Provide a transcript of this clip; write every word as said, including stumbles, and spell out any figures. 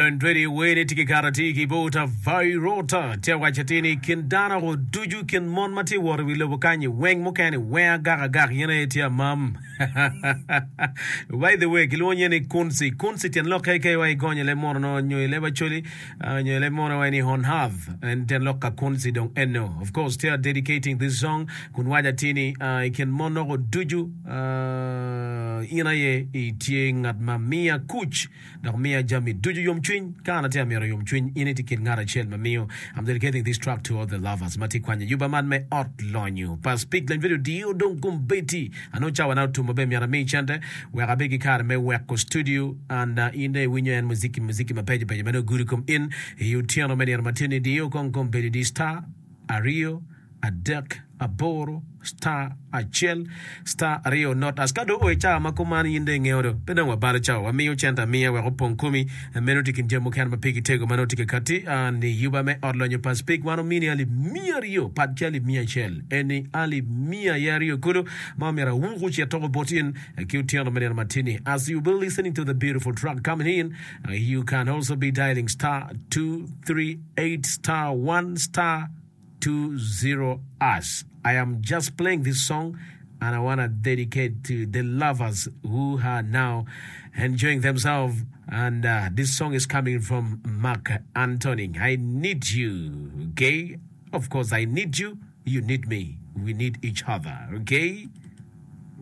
Lony Radio wene tye ki kato atir ki bot Avirota tye awaco atir ni kin dano ko ducu kin mon ma tye wot i wi lobo kanyi weng mukene weng agak agak yen aye tye amam. By the way kilwongo nye ni Kunsi. Kunsi tyen lokke ke wa igonyo leb muno no nyo i leb Acholi uh, nyo i leb muno wa ni honhav en tyen lok ka Kunsi dong eno. Of course tye dedicating this song kun waco atir ni uh, i kin mon noko ducu uh, in aye itye ngat ma miya kuc dok miya jami ducu yomcwiny. Ka an atye amito yomcwiny, in itye kin ngat acel ma miyo. I'm dedicating this track to all the lovers ma tye kwanyo yuba man me ot lonyo pa Speak Lony Radio diyo dong kombeddi. Anongo cawa na otum maber myero ami cente wek abed ki kare me weko studio and uh, in dong iwinyo en muziki muziki mabeco beco ma dong gudo kom in i otyeno me nino matin-ni diyo kong kombeddi di star aryo adek aboro star acel star aryo not as ka dong o i cawa ma kuman in dong ingeyo do pe dong wabalo cawa wamiyo cente amiya wek opong komi meno tye kin jami mukene ma pigi tego ma nongo tye ka kati ni yuba me ot lonyo pa Speak wan omini alip miya aryo pat ki alip miya acel eni alip miya aye aryo kulu ma omyero awuku ocit toko bot in ki otyeno me nino matini as you be listening to the beautiful track coming in you can also be dialing star two three eight star one star two zero us. I am just playing this song and I want to dedicate to the lovers who are now enjoying themselves. And uh, this song is coming from Mark Antoning. I need you, okay? Of course, I need you. You need me. We need each other, okay?